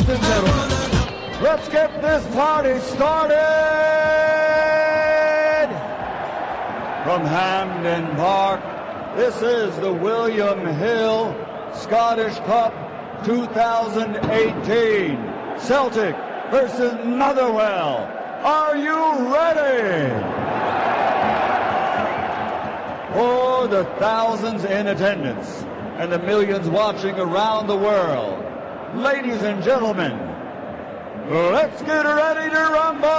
and gentlemen, let's get this party started! From Hampden Park, this is the William Hill Scottish Cup 2018. Celtic versus Motherwell. Are you ready? For the thousands in attendance and the millions watching around the world, ladies and gentlemen, let's get ready to rumble!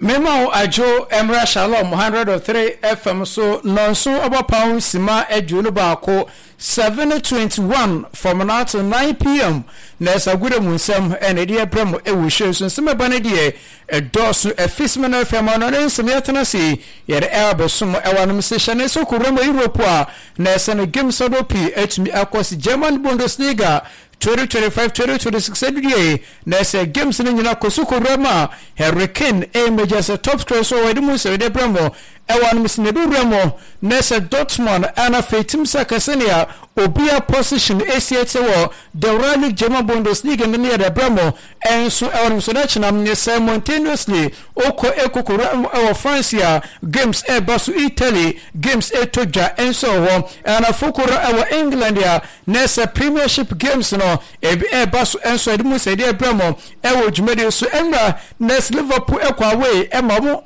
Mema wo adwo mmra Shalom 103 FM so nnɔnson ɔbɔpaw simma 21, 7:21 from now to 9 pm na ɛsɛ mu nsɛm ɛna ɛde ɛbrɛ mo ɛwɔ hyɛ so nsɛm ɛba no deɛ ɛdɔɔso ɛfi sima no afei ama no ne nsɛm yɛtena ase yɛde ɛabɛsom ɛwɔ anom sɛ hyɛ ne sɛ kɔwura mu Europe a na ɛsɛ no games ahodoɔ pii atumi akɔ se German Bundesliga 2025 2026 adudie na ɛsɛ games no nyina kɔ so kɔwura mu a Harry Kane ɛmɛgya sɛ top scorer so wɔde mu nsɛm de brɛ mo ɛwɔ anom sɛ na ɛbɛwura mu na ɛsɛ Dortmund ɛna afei team sɛ kɛsɛnea obia position ɛsi ɛte wɔ the Royal League German Bundesliga no ne yɛde brɛ mo ɛnso ɛwɔ nom so na kyena ne simultaneously okɔ ekokora ɛwɔ France a games ɛba so Italy games ɛtɔ dwa ɛnso ɛwɔ hɔ ɛna fokora ɛwɔ England a na ɛsɛ Premiership games no ebi ɛba so ɛnso ɛde mu sɛ ɛde ɛbrɛ mo ɛwɔ dwumadie so ɛnra na ɛsɛ Liverpool ɛkɔ away ɛma mo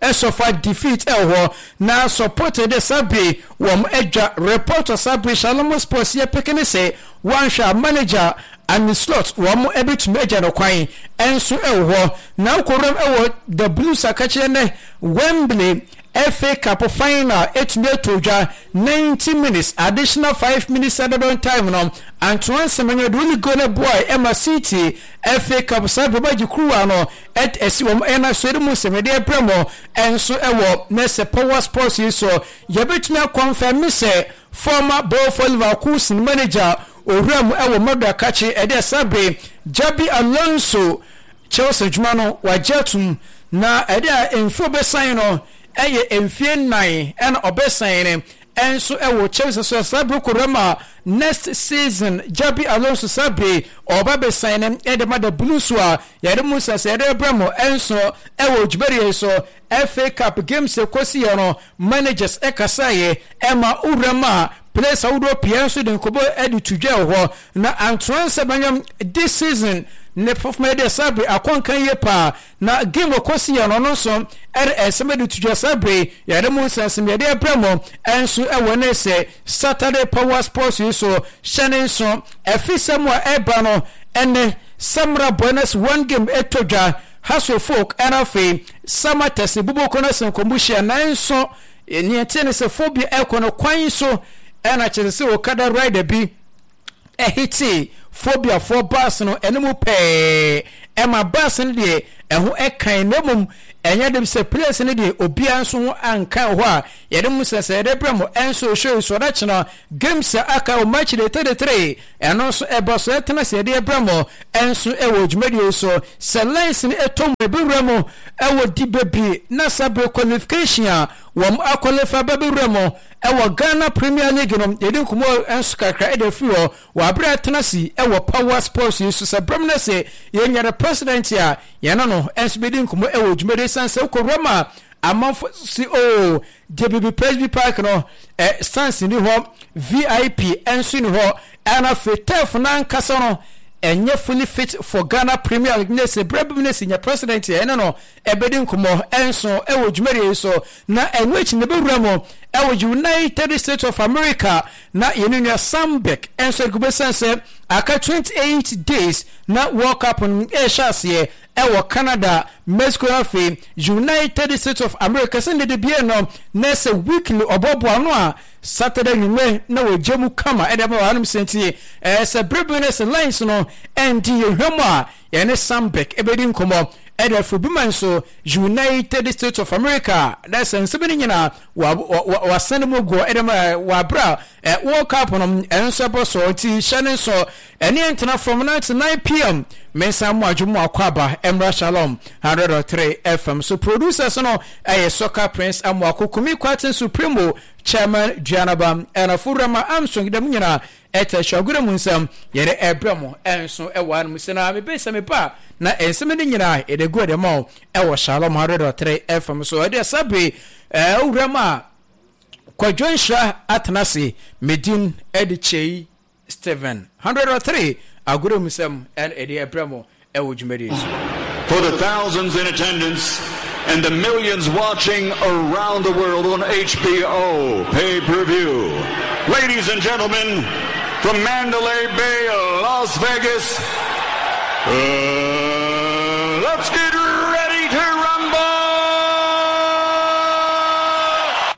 ɛsɔfa defeat ɛwɔ hɔ na support de sabri wɔn adwa report sabri Shalom Sports yɛ peke ne sɛ wɔanhwɛ a manager Arne Slot wɔn ɛbɛtumi agya no kwan ɛnso ɛwɔ hɔ na wokɔwuram ɛwɔ the Blues akakyerɛ nɛ Wembley FA Cup final ɛtumi ato dwa 90 minutes additional 5 minutes added time no Antoine Semenyo de only goal no boy ɛma City FA Cup saa bɛba gye kuruwa no ɛsi wɔn ɛna so ɛde mu nsɛm ɛde ɛbrɛ mo ɛnso ɛwɔ ne sɛ Power Sports yi so yɛbɛtumi akɔnfɛn mi sɛ former Bayer Leverkusen manager owura mu ɛwɔ Madrid akakye ɛde ɛsabe Xabi Alonso Chelsea adwuma no wagye atum na ɛde a mfie ɔbɛsan no ɛyɛ mfie 4 ɛna ɔbɛsan no ɛnso ɛwɔ Chelsea so saa bere kɔwura mu a next season Xabi Alonso saa bere ɔba bɛsan no ɛde ma the Blues a yɛde mu sɛ sɛ yɛde brɛ mo ɛnso ɛwɔ dwumadie so FA Cup games ɛkɔsi yɛ no managers ɛkasaeɛ ɛma owura mu a players ahodoɔ pii nso de nkɔbɔ ɛde to dwa wɔ hɔ na Antoine Semenyo this season ne performance de saa bere akɔnkan yie paa na game ɔkɔsi yɛ no ɔno nso ɛde ɛnsɛm de to dwa saa bere yɛde mu nsɛnsɛm yɛde ɛbrɛ mo ɛnso ɛwɔ ne sɛ Saturday Power Sports yi so hyɛ ne nso ɛfi sɛ mu a ɛba no ɛnɛ Samra Buenos one game ɛtɔ dwa Hasso Folk ɛna afei Samatex buboko no sɛ nkɔmbo hyia nanso nea ɛte ne sɛ phobia ɛkɔ no kwan so ɛna kyerɛ sɛ okada rider bi ɛhete phobiafoɔ bus no ɛno pɛɛ ɛma bus no deɛ ɛho ɛkan na mmom ɛnyɛ de sɛ place no deɛ obiara nso ho ankan hɔ a yɛde mu sɛ sɛ yɛde brɛ mo ɛnso ehwɛ so ɔda kyena games a aka wɔ match day 33 ɛno nso ɛba so ɛtena sɛ yɛde brɛ mo ɛnso ɛwɔ dwumadie so sɛ lines no ɛtɔ mu ɛbɛwura mu ɛwɔ di bebree na sabre qualification a wɔn akɔlefa bɛbɛwura mu ɛwɔ Ghana Premier League no yɛde nkɔmmɔ nso kakra ɛde afiri hɔ wɔ abere atena si ɛwɔ Power Sports yi so sɛ brɛm no sɛ yɛnya the president a yɛne no nso bɛdi nkɔmmɔ ɛwɔ dwumadie san sɛ wokɔwura mu a amanfo si o deɛ bibi Presby Park no ɛ stands ni hɔ VIP nso ni hɔ ɛna afei turf no ankasa no ɛnyɛ fully fit for Ghana Premier League ne sɛ brɛ bi ne sɛ nya president a ɛne no ɛbɛdi nkɔmmɔ ɛnso ɛwɔ dwumadie yi so na ɛno akyi na ɛbɛwura mu ɛwɔ United States of America na yɛne nua Sambek ɛnso ɛde kɔbɛsiane sɛ aka 28 days na World Cup no ɛhyɛ aseɛ ɛwɔ Canada, Mexico afei United States of America sɛ ne de bie no na sɛ weekly ɔbɔboa no a Saturday nwummerɛ na wɔgye mu kama ɛde ama wɔhanom sɛ nti ɛɛ sɛ bere bi no sɛ lines no ɛnti yɛhwɛ mu a yɛne Sambek ɛbɛdi nkɔmmɔ. ɛde afiri bi man so United States of America na sɛ nsɛm no nyinaa wɔasɛne mu guɔ ɛde ma wɔ abere a World Cup no ɛnso ɛbɔ so nti hyɛ ne nso ɛne ntena fam 99 pm mensa mo adwo mu akɔ aba ɛmmra Shalom 103 FM so producers no ɛyɛ Soccer Prince Amoako Kumi Kwaten Supremo Chairman Duanaba ɛna Furama Armstrong dɛm nyinaa Ɛtɛ hyɛ mu nsɛm yɛde ɛbrɛ mo ɛnso ɛwɔ anom sɛ na mebe sɛ meba a na nsɛm no nyinaa yɛde gu ɛde ma wo ɛwɔ Shalom 100.3 FM so ɛde ɛsa bere ɛwura mu a Kwadwo Nhyira atena ase medin ɛde Kyei Stephen 100.3 agorɔ mu nsɛm ɛna ɛde ɛbrɛ mo ɛwɔ dwumadie so. For the thousands in attendance and the millions watching around the world on HBO pay-per-view. Ladies and gentlemen, from Mandalay Bay, Las Vegas, let's get ready to rumble!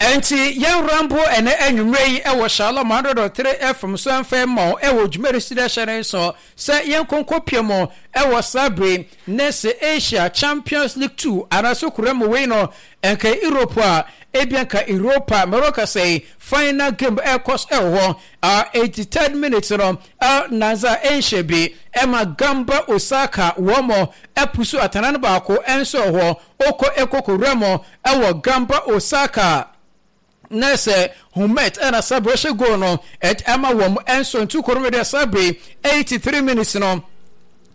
Enti yɛn rambo ɛnɛ anwummerɛ yi wɔ Shalom 100.3 FM so ɛmfa mma wo ɛwɔ dwumadi si dɛ hyɛ ne nso sɛ yɛn nkonko pie mu ɛwɔ saa bere ne sɛ Asia Champions League 2 anaasɛ kura mu wei no ɛnka Europe a ebia nka Europa mɛrɔ kasa yi final game ɛkɔ so ɛwɔ hɔ a 83rd minute no Al Nassr ɛnhyɛ bi ɛma Gamba Osaka wɔn mo ɛpusu atana no baako ɛnso ɛwɔ hɔ Oko Ekoko Remo ɛwɔ Gamba Osaka na sɛ Humet ɛna Sabri hyɛ goal no ɛde ama wɔn ɛnso ntu koro no deɛ Sabri 83 minutes no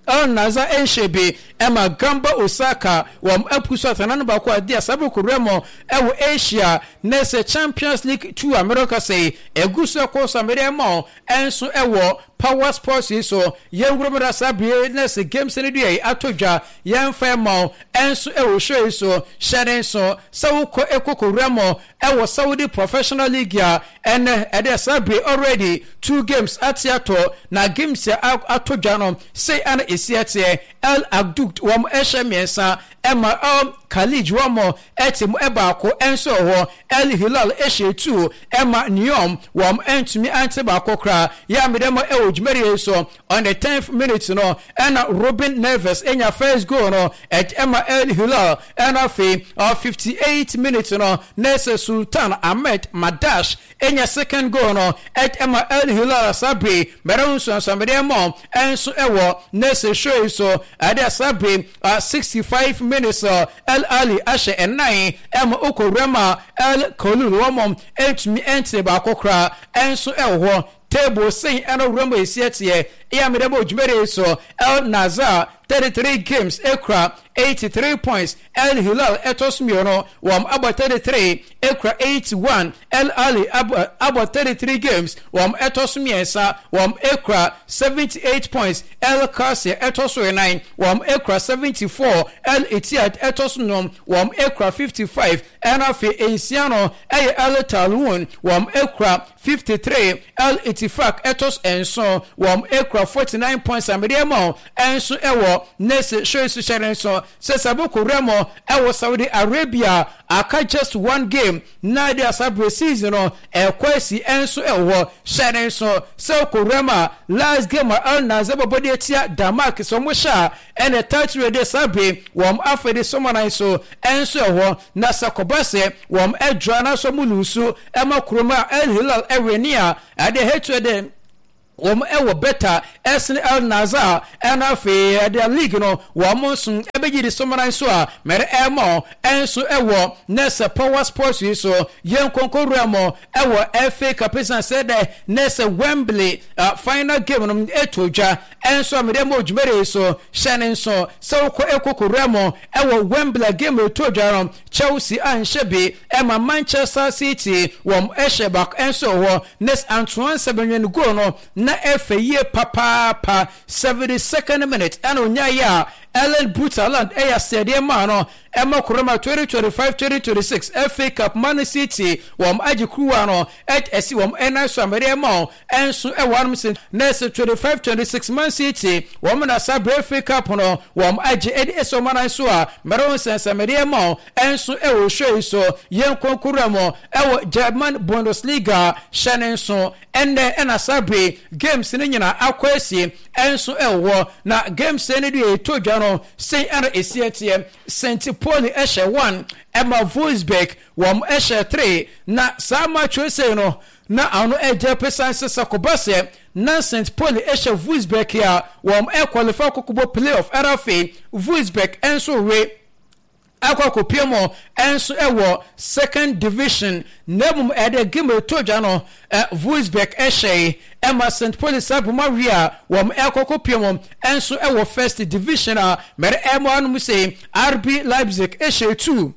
Al Nassr ɛnhyɛ bi ɛma Gamba Osaka wɔn apu so atana no baako a deɛ Sabri Remo ɛwɔ Asia na sɛ Champions League 2 a mɛrɛ kasa yi ɛgu so ɛkɔ so a mɛde ɛma wɔn ɛnso ɛwɔ Power Sports yi so yɛn wura mu da saa bere na sɛ games no deɛ atɔ dwa yɛmfa ɛma wo ɛnso ɛwɔ show yi so hyɛ ne nso sɛ wokɔ ɛkɔ kɔwura mu ɛwɔ Saudi Professional League a ɛnɛ ɛde saa bere already two games ate atɔ na games a atɔ dwa no sei ana ɛsi ɛteɛ El Akhdoud wɔn ɛhyɛ mmiɛnsa ɛma El Khalij wɔn ɛte mu ɛbaako ɛnso wɔ hɔ El Hilal ɛhyɛ two ɛma Neom wɔn ɛntumi ante baako koraa yɛ a mede mo ɛwɔ dwumadie yi so on the 10th minute no ɛna Ruben Neves ɛnya first goal no ɛde ɛma El Hilal ɛna afei 58 minute no na ɛsɛ Sultan Ahmed Madash Enya second goal no ɛma El Hilal Sabri mɛrɛ ho nsuansuamede ɛmɔ ɛnso ɛwɔ nese show yi so ɛde Sabri 65 minutes El Ali ahyɛ ɛnan ɛma okɔ wura ma El Kolul wɔn ɛntumi ɛntene baako koraa ɛnso ɛwɔ hɔ table sen ɛno wura mu esi ɛteɛ ɛyɛ amede bɔ dwumadi yi so El Nazar 33 games ekura 83 points El Hilal ɛtɔ so mmienu wɔn abɔ 33 ekura 81 El Ahly abɔ abɔ 33 games wɔn ɛtɔ so mmiɛnsa wɔn ekura 78 points El Qasir ɛtɔ so nnan wɔn ekura 74 El Ittihad ɛtɔ so num wɔn ekura 55 ɛna afei nsia no ɛyɛ El Taawoun wɔn ekura 53 El Ittifaq ɛtɔ so nson wɔn ekura 49 points amedeɛ ma ɛnso ɛwɔ nese show so hyɛ ne nso sɛ Saboko Remo ɛwɔ Saudi Arabia aka just one game na de asabre season no ɛkɔ asi ɛnso ɛwɔ hɔ hyɛ ne nso sɛ ɔkɔ Remo a last game a Al Nassr bɛbɔ de atia Denmark sɛ ɔmo hyɛ a ɛna title de sabre wɔn afɛ de sɔmɔnan so ɛnso ɛwɔ hɔ na sɛ kɔba sɛ wɔn ɛdra na so ɔmo lose ɛma kurom a El Hilal ɛwɛ ni a ɛde hetu ɛde wɔn ɛwɔ bɛta ɛsene El Nassr ɛna afei ɛde league no wɔn nso ɛbɛgye de sɔmɔnan so a mɛrɛ ɛmɔ ɛnso ɛwɔ nɛsɛ Power Sports yi so yɛn nkonko wura mo ɛwɔ FA Cup san sɛ dɛ nɛsɛ Wembley final game no ɛto dwa ɛnso a mɛde mo dwumadi yi so hyɛ ne nso sɛ wokɔ ɛkoko wura mo ɛwɔ Wembley game ɛto dwa no Chelsea anhyɛ bi ɛma Manchester City wɔn ɛhyɛ baako ɛnso wɔ nes Antoine Semenyo goal no na ɛfɛ yie papaapa 72nd minute ɛna onyaayɛ a Erling Braut Haaland ɛyɛ asɛdeɛ maa no ɛma koroma 2025-2026 FA Cup Man City wɔn agye kuruwa no ɛd ɛsi wɔn ɛnan so amɛdeɛ ma wɔn ɛnso ɛwɔ anom sɛ nɛɛsɛ 25-26 Man City wɔn na saa bere FA Cup no wɔn agye ɛde ɛsi wɔn anan so a mɛrɛ wɔn nsɛnsɛmɛdeɛ ma wɔn ɛnso ɛwɔ show yi so yɛn nkonkoro mu ɛwɔ German Bundesliga hyɛ ne nso ɛnɛ ɛna saa bere games no nyinaa akɔ asie ɛnso ɛwɔ hɔ na games no deɛ ɛtɔ dwa no. no, sei ara ɛsi ɛteɛ, St. Pauli hyɛ 1 ɛma Wolfsburg wɔn hyɛ 3, na saa match wei sei no, na ano ɛgya pesan sɛ sɛ kɔba sɛ na St. Pauli hyɛ Wolfsburg a, wɔn ɛqualify kɔkɔbɔ play-off, ɛna afei Wolfsburg nso we akɔ akɔpue mu nso wɔ second division na mmom ɛde game ɛtɔ dwa no Wolfsburg hyɛe ɛma St. Pauli saa boma wie a wɔn ɛkɔ akɔpue mu nso wɔ first division a mɛre ɛmo anom sei RB Leipzig hyɛ 2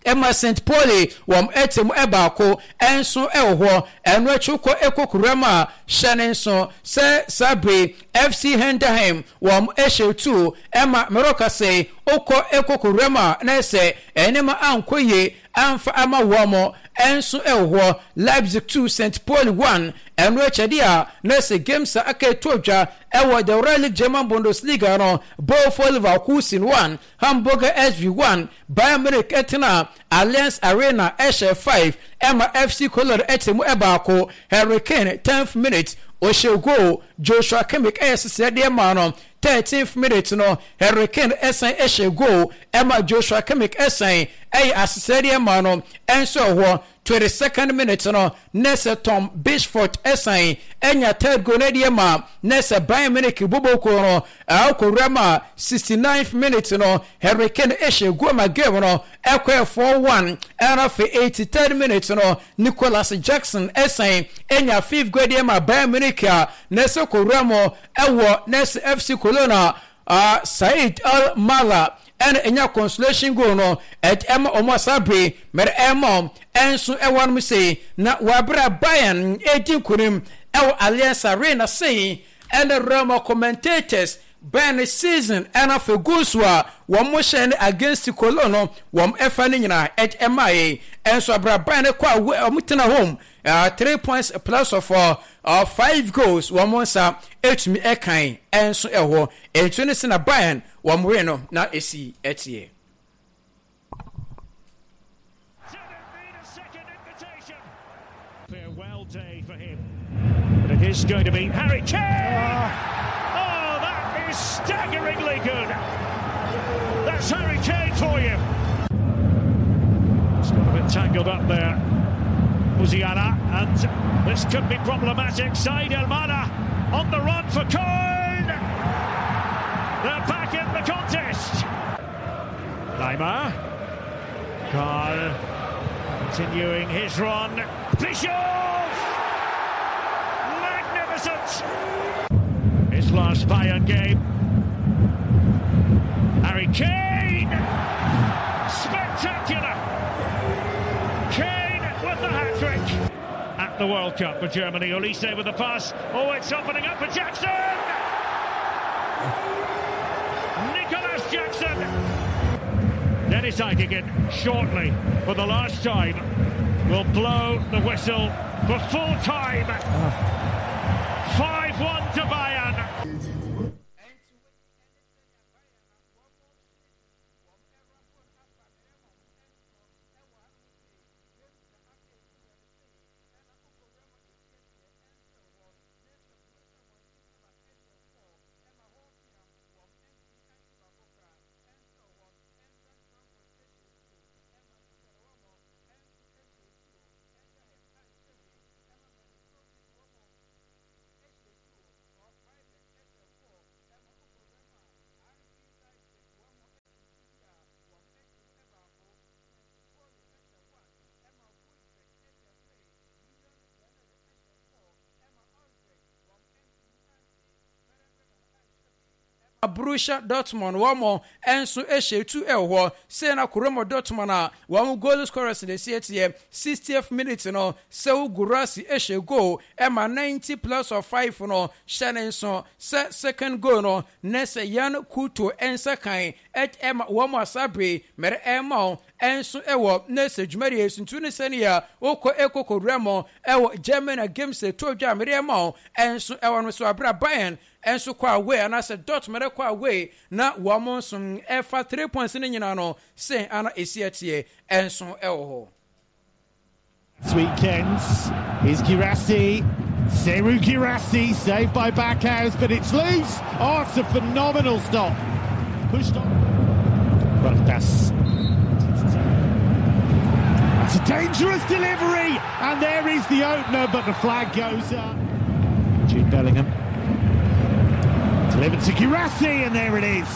ɛma St. Pauli wɔn ɛte mu ɛbaako nso ɛwɔ hɔ ɛno akyi kɔ ɛkɔ kuram a hyɛ ne nso sɛ saa bere FC Henderheim Wɔn hyɛ tuo ma mereka sɛ wokɔ koko wuram a na sɛ nneɛma ankɔ yie amfa ama wɔn nso wɔ hɔ. Leipzig 2 St. Pauli 1 Ɛno akyi adeɛ a na sɛ games a aka ɛtɔ dwa wɔ the Rheinland German Bundesliga no, Bochum Leverkusen 1 Hamburger SV 1 Bayern Munich tena Allianz Arena hyɛ 5 ma FC Cologne te mu baako. Harry Kane, 10th minute, ɔhyɛ goal, Joshua Kimmich yɛ seseɛ deɛ maa no, 13th minute no, Harry Kane san hyɛ goal ma Joshua Kimmich san yɛ aseseɛ deɛ maa no nso wɔ hɔ. 22nd minute no, na sɛ Tom Bishfort san nya third goal no deɛ ma na sɛ Bayern Munich bɔbɔ kuo no akɔwura ma 69th minute no, Harry Kane hyɛ goal ma game no ɛkɔɛ 4-1. Ɛna afei 83rd minute no, Nicolas Jackson san nya fifth goal deɛ ma Bayern Munich a na sɛ kɔwura mu ɛwɔ na sɛ FC Cologne a Said El Mala ɛna ɛnya consolation goal no ɛde ɛma wɔn a saa bere mɛrɛ ɛma wɔn ɛnso ɛwɔ anom sei na wɔabere Bayern ɛredi nkunim ɛwɔ Allianz Arena sei ɛna Roma commentators Bayern season ɛna afei goals a wɔn hyɛ ne against Cologne no wɔn ɛfa ne nyinaa ɛde ɛma yɛ ɛnso abere Bayern kɔ a wɔn tena home 3 points plus of 5 goals wɔn nsa ɛtumi ɛkan ɛnso ɛwɔ ɛnso ne sɛ na Bayern wɔn win no na esi ɛteɛ. Farewell day for him. But it is going to be Harry Kane! Oh, that is staggeringly good. That's Harry Kane for you. It's got a bit tangled up there. Musiala, and this could be problematic. Said El Mala on the run for Köln! They're back in the contest. Neymar. Karl continuing his run. Bischoff! Magnificent! His last Bayern game. Harry Kane! Spectacular! Kane with the hat-trick at the World Cup for Germany. Olise with the pass. Oh, it's opening up for Jackson! Nicholas Jackson! Dennis Eichigen shortly, for the last time, will blow the whistle for full time. 5-1 to Bayern. Borussia Dortmund wɔn nso hyɛ tu wɔ hɔ sei na Kuroma Dortmund a wɔn goal scorers na esi teɛ 60th minute no Serhou Guirassy hyɛ goal ɛma 90 plus of 5 no hyɛ ne nso sɛ second goal no ne sɛ Yan Couto nsa kan ɛma wɔn asabre mɛrɛ ɛma wɔn nso wɔ ne sɛ dwumadie suntu ne sɛnea wokɔ ekoko wura ɛwɔ Germany games ɛtɔ dwa mɛrɛ ɛma wɔn nso ɛwɔ no so abira Bayern nso kɔ away anaasɛ Dortmund kɔ away na wɔn nso ɛfa 3 points no nyinaa no sɛn ana esi ɛteɛ nso ɛwɔ hɔ. This weekend is Guirassy. Serhou Guirassy saved by Backhouse, but it's loose. Oh, it's a phenomenal stop. Pushed on. Puertas. It's a dangerous delivery, and there is the opener, but the flag goes up. Jude Bellingham. Delivered to Guirassy, and there it is.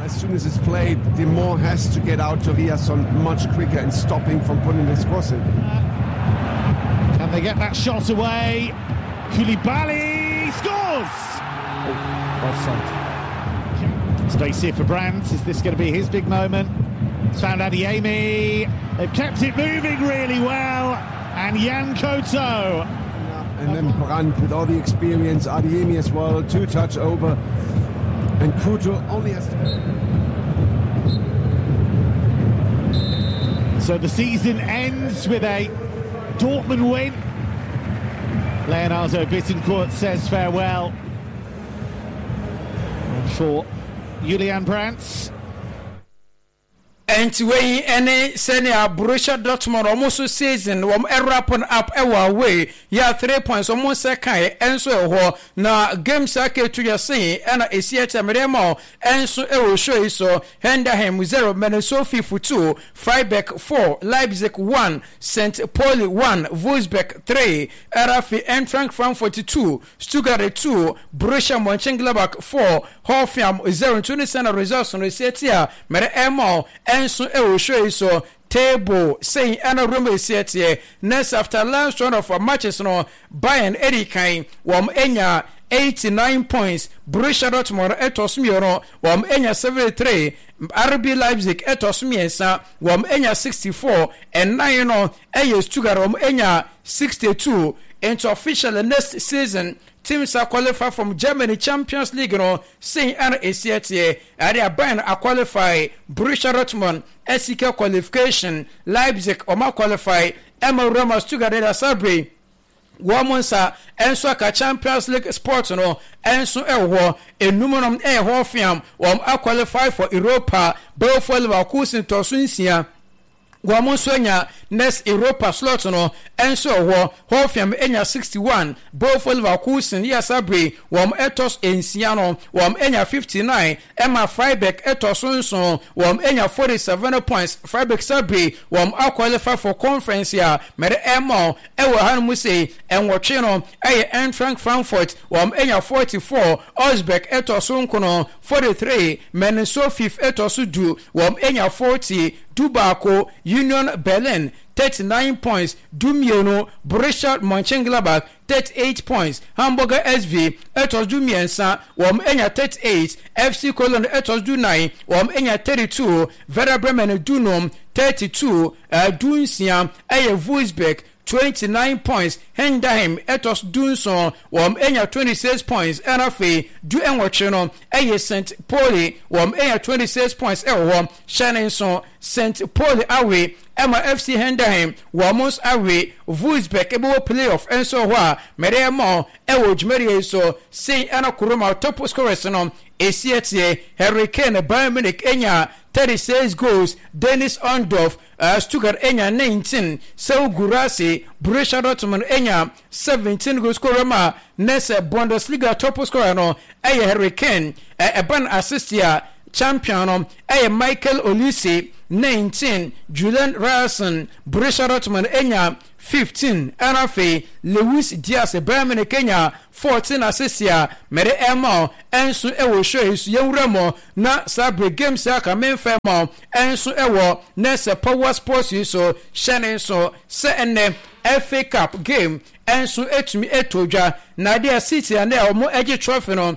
As soon as it's played, Demont has to get out to Ryerson much quicker and stop him from putting this cross in. Can they get that shot away? Koulibaly scores! Oh, offside. Space here for Brandt. Is this going to be his big moment? It's found Adeyemi. They've kept it moving really well. And Yan Couto. And then Brandt with all the experience, Adeyemi as well, two touch over. And Couto only has to... So the season ends with a Dortmund win. Leonardo Bittencourt says farewell. For Julian Brandt. Enti wei ne sɛnea Borussia Dortmund wɔn nso season wɔn wrap no up wɔ away yɛ 3 points wɔn nsa kae nso wɔ hɔ na games a aka etu yɛ sen ɛna esi ɛkyɛ mede ma wo nso wɔ show yi so Henderheim 0 Minnesota 2 Freiburg 4 Leipzig 1 St. Pauli 1 Wolfsburg 3 RFI Eintracht Frankfurt 2 Stuttgart 2 Borussia Mönchengladbach 4 Hoffenheim 0 nti ne sɛ na results no esi ɛte a mede ɛma wo nso wɔ show yi so. Table sei ɛna room esi ɛteɛ. Next after last round of matches no Bayern edi kan wɔn anya 89 points, Borussia Dortmund ɛtɔ so mmienu wɔn anya 73, RB Leipzig ɛtɔ so mmiɛnsa wɔn anya 64, ɛnan no ɛyɛ Stuttgart wɔn anya 62. Nti officially next season teams a qualify from Germany Champions League no sei ɛna esi ɛteɛ. Ɛde a Bayern a qualify, Borussia Dortmund asika qualification, Leipzig wɔn qualify ɛma Roma Stuttgart de Asabre wɔn nsa nso aka Champions League spot no nso ɛwɔ hɔ. Enum no ɛyɛ Hoffenheim wɔn a qualify for Europa, Bayer Leverkusen tɔ so nsia wɔn nso anya next Europa slot no nso ɛwɔ hɔ. Hoffenheim anya 61, Bayer Leverkusen yɛ Asabre wɔn ɛtɔ so nsia no wɔn anya 59, ɛma Freiburg ɛtɔ so nson wɔn anya 47 points. Freiburg Sabre wɔn aqualify for conference a mɛde ɛma ɛwɔ ha no mu sɛ ɛnwɔtwe no ɛyɛ Eintracht Frankfurt wɔn anya 44, Augsburg ɛtɔ so nkono 43, Mainz 05 ɛtɔ so du wɔn anya 40, dubaako Union Berlin 39 points, dumienu Borussia Mönchengladbach 38 points, Hamburger SV ɛtɔ so du mmiɛnsa wɔn anya 38, FC Cologne ɛtɔ so du nan wɔn anya 32, Werder Bremen dunum 32, dunsia ɛyɛ Wolfsburg 29 points, Henderheim ɛtɔ so du nson wɔn anya 26 points, ɛna afei du nwɔtwe no ɛyɛ St. Pauli wɔn anya 26 points ɛwɔ hɔ. Hyɛ ne nso St. Pauli awe ɛma FC Henderheim wɔn nso awe Wolfsburg ɛbɛwɔ playoff nso hɔ a mɛde ɛma ɛwɔ dwumadie yi so sei ɛna Kuroma top scorers no esi ɛteɛ. Harry Kane Bayern Munich enya 36 goals, Dennis Undav Stuttgart enya 19, Serhou Guirassy Borussia Dortmund enya 17 goals. Kuroma nɛsɛ Bundesliga top scorer no ɛyɛ Harry Kane, ɛban assist a champion no ɛyɛ Michael Olise 19, Julian Ryerson Borussia Dortmund enya 15, ɛna afei Luis Diaz Bayern Munich enya 14 assist a mɛde ɛma ɛnso ɛwɔ show yi so. Yɛnwura mu na saa bere games a aka memfa ma ɛnso ɛwɔ nɛsɛ Power Sports yi so. Hyɛ ne nso sɛ ɛnɛ FA Cup game ɛnso etumi eto dwa na adeɛ City a ne a wɔn agye trophy no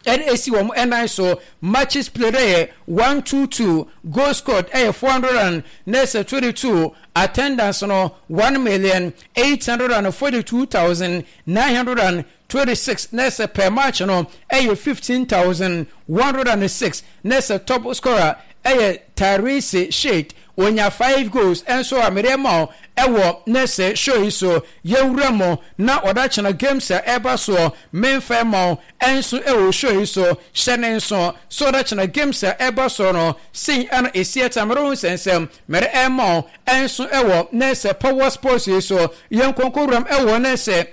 ɛde esi wɔn ɛnan so. Matches played ɛyɛ 122, goal scored ɛyɛ 422, attendance no 1,842,926, na ɛsɛ per match no ɛyɛ 15,106. Na ɛsɛ top scorer ɛyɛ Tyrese Shade onya 5 goals ɛnso a mede ma ɛwɔ nɛsɛ show yi so. Yɛwura mu na ɔda kyena games a ɛba soɔ memfa ma ɛnso ɛwɔ show yi so. Hyɛ ne nso so ɔda kyena games a ɛba soɔ no sei ɛna esi ɛta mɛrɛ ho nsɛnsɛm mɛrɛ ɛma ɛnso ɛwɔ nɛsɛ Power Sports yi so. Yɛn nkonko wuram ɛwɔ nɛsɛ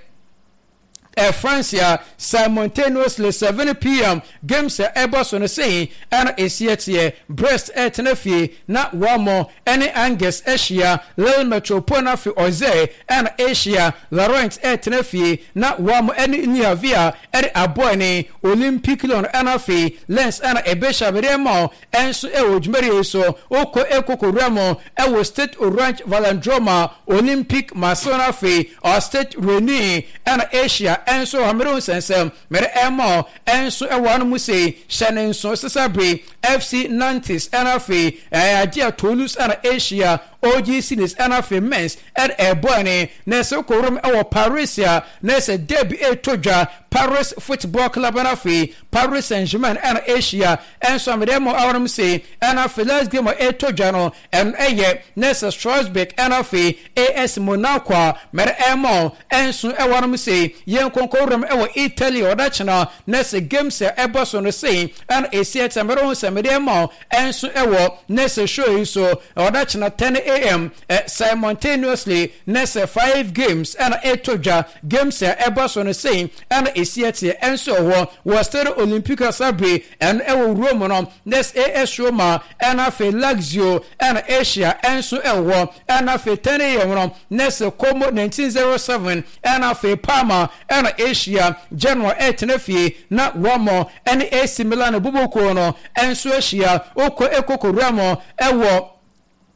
France a simultaneously 7 p.m. games a ɛbɔ so no sei ɛna esi ɛteɛ: Brest ɛtena fie na wɔn ɛne Angers ahyia, Lille Metropole no afei Auxerre ɛna ahyia, Lorient ɛtena fie na wɔn ɛne Le Havre ɛde abɔ ne Olympique Lyon, ɛna afei Lens ɛna ɛbɛhyia abɛdeɛ ma ɛnso ɛwɔ dwumadie yi so. Wokɔ ekokowura mu ɛwɔ Stade Orange Vélodrome, Olympique Marseille no afei Stade Rennais ɛna ahyia ɛnso hamere nsɛnsɛm mɛrɛ ɛma ɛnso ɛwɔ ano mu sei. Hyɛ ne nso sesa bere FC Nantes ɛna afei ɛyɛ agye a Toulouse ɛna ahyia, OGC Nice ɛna afei Metz ɛde ɛbɔ ɛne. Na ɛsɛ kɔwuram ɛwɔ Paris a na ɛsɛ derby ɛtɔ dwa, Paris Football Club ɛna afei Paris Saint-Germain ɛna ahyia ɛnso amede ɛmɔ awɔnom sei. Ɛna afei last game a ɛtɔ dwa no, ɛno ɛyɛ na ɛsɛ Strasbourg ɛna afei AS Monaco a mɛrɛ ɛmɔ ɛnso ɛwɔ anom sei. Yɛn nkonkɔwuram ɛwɔ Italy, ɔda kyena na ɛsɛ games a ɛbɔ so no sei ɛna esi ɛtɛ mɛrɛ ho sɛ mɛde ɛmɔ ɛnso ɛwɔ na ɛsɛ show yi so. Ɔda kyena 10 a.m. simultaneously na ɛsɛ five games ɛna ɛtɔ dwa. Games a ɛbɔ so no sei ɛna esi ɛteɛ ɛnso ɛwɔ wɔ Stade Olympique Sabre, ɛno ɛwɔ Rome no, na ɛsɛ AS Roma ɛna afei Lazio ɛna ahyia ɛnso ɛwɔ. Ɛna afei 10 a.m. no, na ɛsɛ Como 1907 ɛna afei Parma ɛna ahyia. Genoa ɛtena fie na wɔn ɛne AC Milan bubukuo no ɛnso ahyia. Okɔ ekokowura mu ɛwɔ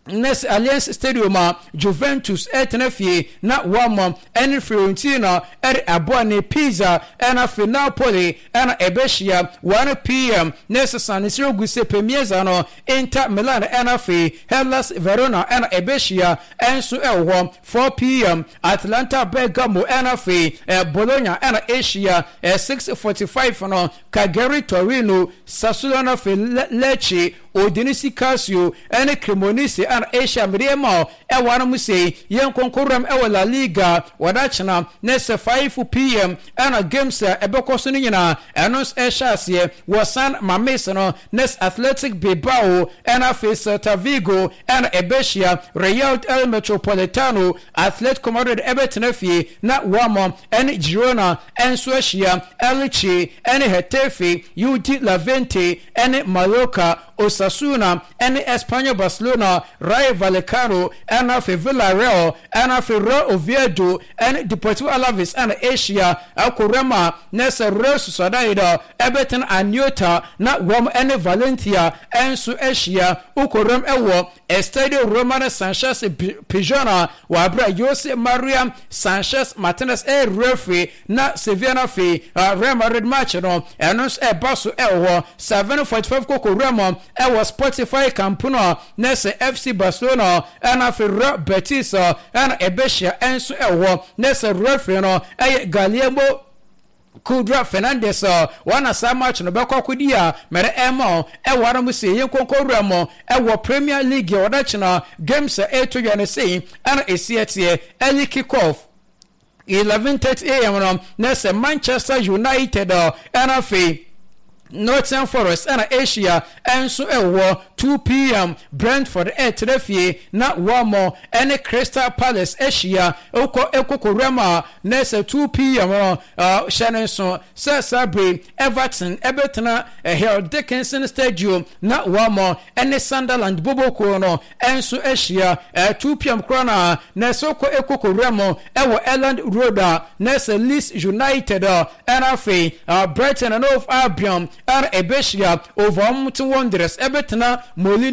nes Allianz Stadium a, Juventus ɛtena fie na wɔn ɛne Fiorentina ɛde aboa ne Pisa, ɛna afei Napoli ɛna ɛbɛhyia 1 p.m. Na ɛsesa ne sɛ ogu sɛ Piazza no, Inter Milan ɛna afei Hellas Verona ɛna ɛbɛhyia ɛnso ɛwɔ hɔ. 4 p.m., Atalanta Bergamo ɛna afei Bologna ɛna ahyia. 6:45 no, Cagliari Torino, Sassuolo na afei Lecce, Udinese Calcio ɛne Cremonese ɛna ahyia. Mmedeɛ ma ɛwɔ anom sei. Yɛn nkonkoram ɛwɔ La Liga, wɔda kyena na ɛsɛ 5 p.m. ɛna games a ɛbɛkɔ so no nyinaa ɛno nso ɛhyɛ aseɛ wɔ San Mames no. Nes Athletic Bilbao ɛna afei Celta Vigo ɛna ɛbɛhyia. Real El Metropolitano, Atletico Madrid ɛbɛtena fie na wɔn ɛne Girona ɛnso ahyia, Elche ɛne Getafe, UD Levante ɛne Mallorca, Osasuna ɛne Espanyol Barcelona, Rayo Vallecano ɛna afei Villarreal, ɛna afei Real Oviedo ɛne Deportivo Alaves ɛna ahyia. Ɛkɔ a na ɛsɛ Real Sociedad ɛbɛtena Anoeta na wɔn ɛne Valencia ɛnso ahyia. Wokɔwuram ɛwɔ Estadio Romano Sanchez Pizjuan, wɔ abere Jose Maria Sanchez Martinez ɛyɛ referee, na Sevilla no afei Real Madrid match no ɛno nso ɛba so ɛwɔ hɔ 7:45. Koko wura mu ɛwɔ Spotify Camp no, na ɛsɛ FC Barcelona ɛna afei Real Betis ɛna ɛbɛhyia ɛnso ɛwɔ hɔ, na ɛsɛ referee no ɛyɛ Guillermo Kudra Fernandez. Wɔn saa match no bɛkɔ akɔdi a mɛrɛ ɛma ɛwɔ ara mu sɛ yɛn nkonko wura mu ɛwɔ Premier League, wɔda kyena games a ɛreto dwa no sei ɛna esi ɛteɛ. Early kick off 11:30 a.m. no, na sɛ Manchester United ɛna afei Nottingham Forest ɛna ahyia ɛnso ɛwɔ. 2 p.m., Brentford ɛtena fie na wɔn ɛne Crystal Palace ahyia. Ɛkɔ ɛkɔkɔwura mu a, na sɛ 2 p.m. no, hyɛ ne nso sɛ saa bere Everton ɛbɛtena Hill Dickinson Stadium na wɔn ɛne Sunderland bobokuo no ɛnso ahyia. 2 p.m. koraa na ɛsɛ kɔ ɛkɔkɔwura mu ɛwɔ Elland Road a, na sɛ Leeds United ɛna afei Brighton and Hove Albion ɛna ɛbɛhyia. Wolverhampton Wanderers ɛbɛtena Molineux.